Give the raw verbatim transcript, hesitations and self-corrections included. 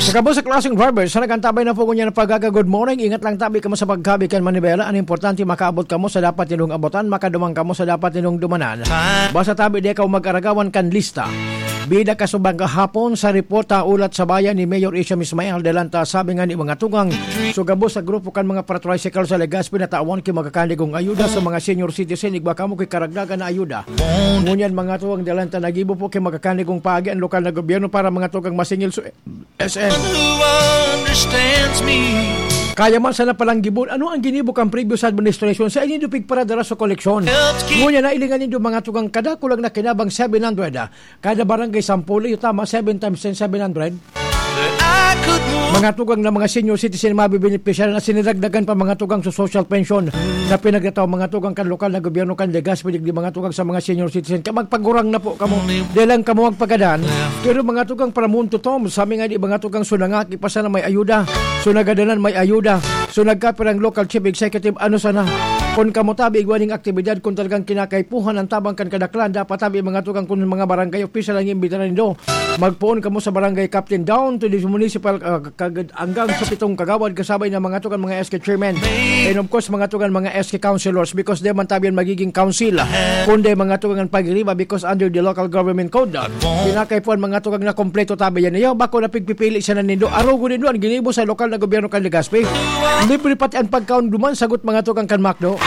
Sa gabos sa klaseng drivers, sa nagantabay na po ngunyan ng pagkaga, good morning. Ingat lang tabi kamo sa pagkabi kan manibela. Ang importante, makaabot kamo sa dapat nindong abutan, makaduman kamo sa dapat nindong dumanan. Basta tabi, di ka mag-aragawan kan lista. Bida ka subang kahapon sa reporta, ulat sa bayan ni Mayor Isham Ismail Delanta, sabi nga ni mga tugang, so gabos sa grupo kan mga para-tricycle sa Legazpi, natawan ki magkakanigong ayuda sa mga senior citizen, igwa kamo ki karagdagan na ayuda. Ngunyan, mga tugang, Delanta, nagibo po ki magkakanigong paagi ang lokal na gobyerno para mga tugang masingil sa S M. Kaya man sana palang gibon, ano ang ginibo kan previous administration sa ini dupig para dara sa koleksyon? Ngunyan, nailingan nindo, mga tugang, kada kulang na kinabang seven hundred, ah. Kada barangay, sampolo, iyo tama, seven times ten, seven hundred. Mga tugang na mga senior citizen, mabibenepisyaran na siniragdagan pa, mga tugang, sa social pension na pinagtataw, mga tugang, kan lokal na gobyerno kan Legazpi, digdi, mga tugang, sa mga senior citizen. Ka magpagurang na po kamo, di lang kamo magpagadan. Pero, mga tugang, para mundo tom, sa mga di, mga tugang, so nangaki pa sana may ayuda, so nagadanan may ayuda, so nagkapirang local chief executive, ano sana? Kung kamo tabi, igwa ning aktibidad, kung talagang kinakaipuhan ang tabang kan kadaklan, dapat tabi, mga tugang, kung mga barangay official ang imbitaran nindo, magpoon kamo sa barangay captain down to the municipal, ah, kagad-, hanggang sa pitong kagawad, kasabay ng mga tugang, mga S K chairman. And of course, mga tugang, mga S K councilors, because di man tabi yan magiging council, kundi, mga tugang, ang pagiriba, because under the local government code, ah, kinakaipuhan, mga tugang, na kompleto tabi yan. Iyo, bako na pigpipili siya na nindo. Arogo nindo ang ginibo sa lokal na gobyerno kan Legazpi. Libre pati ang pagkaon duman, sagot, mga tugang, kan McDo.